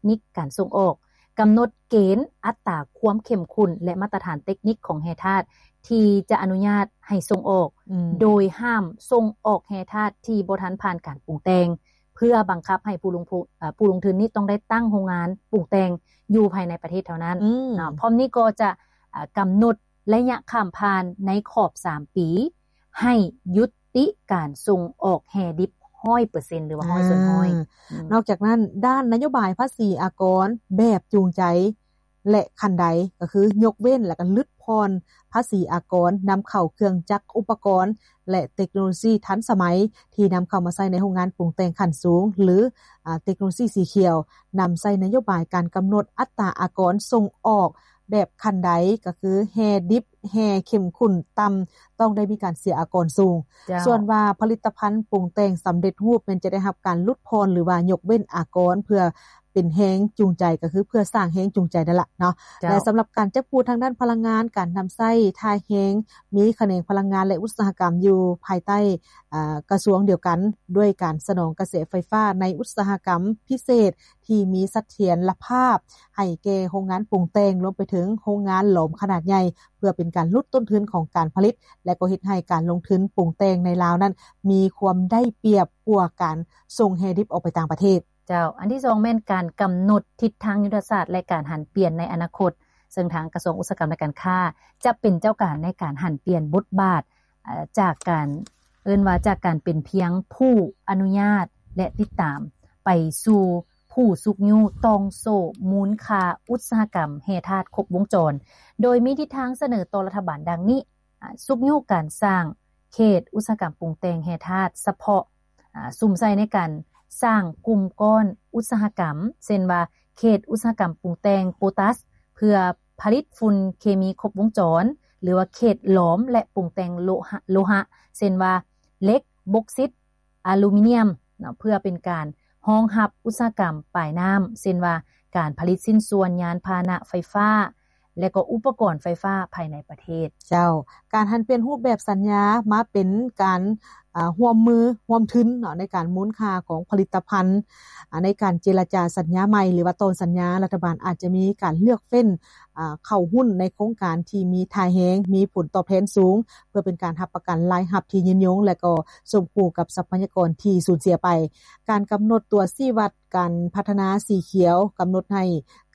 ນິກການສົ່ງອອກ, ກຳນົດເກນອັດຕາຄວາມເຂັ້ມຂຸ້ນ ແລະ ມາດຕະຖານເຕັກນິກຂອງແຮ່ທາດທີ່ຈະອະນຸຍາດໃຫ້ສົ່ງອອກ, ອືມ ໂດຍຫ້າມສົ່ງອອກແຮ່ທາດທີ່ບໍ່ທັນຜ່ານການປຸງແຕ່ງ ເພື່ອບັງຄັບໃຫ້ຜູ້ລົງທຶນ ເອີ ຜູ້ລົງທຶນນີ້ຕ້ອງໄດ້ຕັ້ງໂຮງງານປຸງແຕ່ງຢູ່ພາຍໃນປະເທດເທົ່ານັ້ນ ອືມ ເນາະ. ພ້ອມນີ້ກໍຈະ ເອີ ກຳນົດໄລຍະຂ້າມຜ່ານໃນຂອບສາມປີ ໃຫ້ຍຸຕິການສົ່ງອອກແຮ່ດິບຮ້ອຍເປີເຊັນ ຫຼືວ່າຮ້ອຍສ່ວນຮ້ອຍ ອືມ ນອກຈາກນັ້ນ ດ້ານນະໂຍບາຍພາສີອາກອນແບບຈູງໃຈ ແລະ ຂັ້ນໄດ ກໍຄືຍົກເວັ້ນ ແລະ ກໍຫຼຸດຜ່ອນພາສີອາກອນນຳເຂົ້າເຄື່ອງຈັກ ອຸປະກອນ ແລະ ເຕັກໂນໂລຊີທັນສະໄໝ ທີ່ນຳເຂົ້າມາໃຊ້ໃນໂຮງງານປຸງແຕ່ງຂັ້ນສູງ ຫຼື ອາ ເຕັກໂນໂລຊີສີຂຽວ, ນຳໃຊ້ນະໂຍບາຍການກຳນົດອັດຕາອາກອນສົ່ງອອກແບບຂັ້ນໄດ ກໍຄືແຮ່ດິບ, ແຮ່ເຂັ້ມຂຸ້ນຕ່ຳ ຕ້ອງໄດ້ມີການເສຍອາກອນສູງ. ເຈົ້າ. ສ່ວນວ່າຜະລິດຕະພັນປຸງແຕ່ງສຳເລັດຮູບແມ່ນຈະໄດ້ຮັບການຫຼຸດຜ່ອນ ຫຼືວ່າຍົກເວັ້ນອາກອນ ເພື່ອ ເປັນແຮງຈູງໃຈ ກໍຄືເພື່ອສ້າງແຮງຈູງໃຈນັ້ນລະເນາະ. ເຈົ້າ. ແລະ ສຳລັບການຈັບຄູ່ທາງດ້ານພະລັງງານ, ການນຳໃຊ້ທ່າແຮງ, ມີຂະແໜງພະລັງງານ ແລະ ອຸດສາຫະກຳຢູ່ພາຍໃຕ້ ອາ ກະຊວງດຽວກັນ ດ້ວຍການສະໜອງກະແສໄຟຟ້າໃນອຸດສາຫະກຳພິເສດທີ່ມີສະຖຽນລະພາບໃຫ້ແກ່ໂຮງງານປຸງແຕ່ງ, ລວມໄປເຖິງໂຮງງານຫຼອມຂະໜາດໃຫຍ່ ເພື່ອເປັນການຫຼຸດຕົ້ນທຶນຂອງການຜະລິດ ແລະ ກໍເຮັດໃຫ້ການລົງທຶນປຸງແຕ່ງໃນລາວນັ້ນ ມີຄວາມໄດ້ປຽບກວ່າການສົ່ງແຮ່ດິບອອກໄປຕ່າງປະເທດ. ເຈົ້າ. ອັນທີສອງແມ່ນການກຳນົດທິດທາງຍຸດທະສາດ ແລະ ການຫັນປ່ຽນໃນອະນາຄົດ, ເຊິ່ງທາງກະຊວງອຸດສາຫະກຳ ແລະ ການຄ້າ ຈະເປັນເຈົ້າການໃນການຫັນປ່ຽນບົດບາດ, ເອີ ຈາກການ ເອີ້ນວ່າຈາກການເປັນພຽງຜູ້ອະນຸຍາດ ແລະ ຕິດຕາມ ໄປສູ່ຜູ້ຊຸກຍູ້ຕ່ອງໂສ້ມູນຄ່າອຸດສາຫະກຳແຮ່ທາດຄົບວົງຈອນ, ໂດຍມີທິດທາງສະເໜີຕໍ່ລັດຖະບານດັ່ງນີ້. ອາ ຊຸກຍູ້ການສ້າງເຂດອຸດສາຫະກຳປຸງແຕ່ງແຮ່ທາດສະເພາະ, ອາ ສຸມໃສ່ໃນການສ້າງກຸ່ມກ້ອນອຸດສາຫະກຳ ເຊັ່ນວ່າ ເຂດອຸດສາຫະກຳປຸງແຕ່ງໂປຕາສ ເພື່ອຜະລິດຝຸ່ນເຄມີຄົບວົງຈອນ ຫຼືວ່າເຂດຫຼອມ ແລະ ປຸງແຕ່ງໂລຫະ ໂລຫະ ເຊັ່ນວ່າ ເຫຼັກ, ບົກຊິດ, ອາລູມີນຽມເນາະ ເພື່ອເປັນການຮອງຮັບອຸດສາຫະກຳປາຍນ້ຳ ເຊັ່ນວ່າ ການຜະລິດຊິ້ນສ່ວນຍານພາຫະນະໄຟຟ້າ ແລະ ກໍອຸປະກອນໄຟຟ້າພາຍໃນປະເທດ. ເຈົ້າ. ການຫັນປ່ຽນຮູບແບບສັນຍາມາເປັນການ ອາ ຮ່ວມມືຮ່ວມທຶນເນາະ ໃນການມູນຄ່າຂອງຜະລິດຕະພັນ, ອາ ໃນການເຈລະຈາສັນຍາໃໝ່ ຫຼືວ່າຕໍ່ສັນຍາ, ລັດຖະບານອາດຈະມີການເລືອກເຟັ້ນ ອາ ເຂົ້າຫຸ້ນໃນໂຄງການທີ່ມີທ່າແຮງ, ມີຜົນຕອບແທນສູງ ເພື່ອເປັນການຮັບປະກັນລາຍຮັບທີ່ຍືນຍົງ ແລະ ກໍສົມຄູ່ກັບຊັບພະຍາກອນທີ່ສູນເສຍໄປ. ການກຳນົດຕົວຊີ້ວັດການພັດທະນາສີຂຽວ ກຳນົດໃຫ້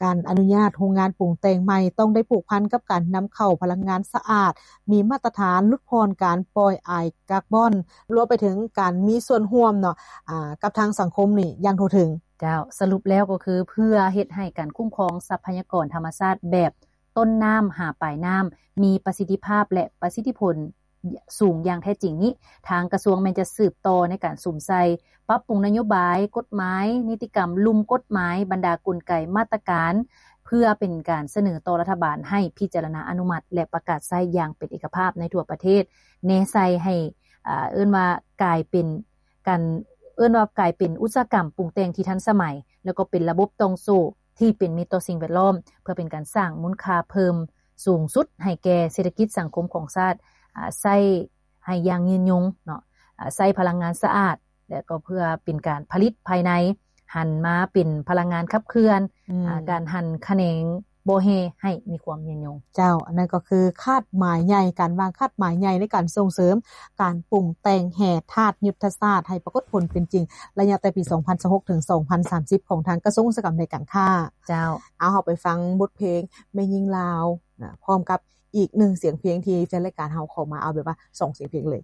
ການອະນຸຍາດໂຮງງານປຸງແຕ່ງໃໝ່ ຕ້ອງໄດ້ຜູກພັນກັບການນຳເຂົ້າພະລັງງານສະອາດ, ມີມາດຕະຖານ, ຫຼຸດຜ່ອນການປ່ອຍອາຍກາບອນ, ລວມໄປເຖິງການມີສ່ວນຮ່ວມເນາະ ອາ ກັບທາງສັງຄົມນີ້ຢ່າງທົ່ວເຖິງ. ເຈົ້າ. ສະຫຼຸບແລ້ວກໍຄືເພື່ອເຮັດໃຫ້ການຄຸ້ມຄອງຊັບພະຍາກອນທຳມະຊາດແບບ ຕົ້ນນ້ຳຫາປາຍນ້ຳ ມີປະສິດທິພາບ ແລະ ປະສິດທິຜົນສູງຢ່າງແທ້ຈິງນີ້, ທາງກະຊວງແມ່ນຈະສືບຕໍ່ໃນການສຸມໃສ່, ປັບປຸງນະໂຍບາຍ, ກົດໝາຍ, ນິຕິກຳ, ລຸ່ມກົດໝາຍ, ບັນດາກົນໄກ, ມາດຕະການ ເພື່ອເປັນການສະເໜີຕໍ່ລັດຖະບານໃຫ້ພິຈາລະນາອະນຸມັດ ແລະ ປະກາດໃຊ້ຢ່າງເປັນເອກະພາບໃນທົ່ວປະເທດ, ແນໃສ່ໃຫ້ ເອີ້ນວ່າກາຍເປັນການ ເອີ້ນວ່າກາຍເປັນອຸດສາຫະກຳປຸງແຕ່ງທີ່ທັນສະໄໝ ແລ້ວກໍເປັນລະບົບຕ່ອງໂສ້ ທີ່ເປັນມິດຕໍ່ສິ່ງແວດລ້ອມ ເພື່ອເປັນການສ້າງມູນຄ່າເພີ່ມສູງສຸດໃຫ້ແກ່ເສດຖະກິດສັງຄົມຂອງຊາດ, ອາ, ໃຊ້ໃຫ້ຢ່າງຍືນຍົງເນາະ, ອາ, ໃຊ້ພະລັງງານສະອາດ ແລະ ກໍເພື່ອເປັນການຜະລິດພາຍໃນ ຫັນມາເປັນພະລັງງານຂັບເຄື່ອນ, ອືມ, ອາ, ການຫັນຂະແໜງບໍ່ແຮ່ໃຫ້ມີຄວາມຍືນຍົງ. ເຈົ້າ, ອັນນັ້ນກໍຄືຄາດໝາຍໃຫຍ່, ການວາງຄາດໝາຍໃຫຍ່ໃນການສົ່ງເສີມການປຸງແຕ່ງແຮ່ທາດຍຸດທະສາດໃຫ້ປາກົດຜົນເປັນຈິງ ໄລຍະແຕ່ປີສອງພັນຊາວຫົກ ເຖິງ ສອງພັນສາມສິບ ຂອງທາງກະຊວງອຸດສາຫະກຳ ແລະ ການຄ້າ. ເຈົ້າ. ເອົາ ເຮົາໄປຟັງບົດເພງແມ່ຍິງລາວນະ ພ້ອມກັບອີກໜຶ່ງສຽງເພງທີ່ແຟນລາຍການເຮົາຂໍມາ, ເອົາແບບວ່າສອງສຽງເພງເລີຍ.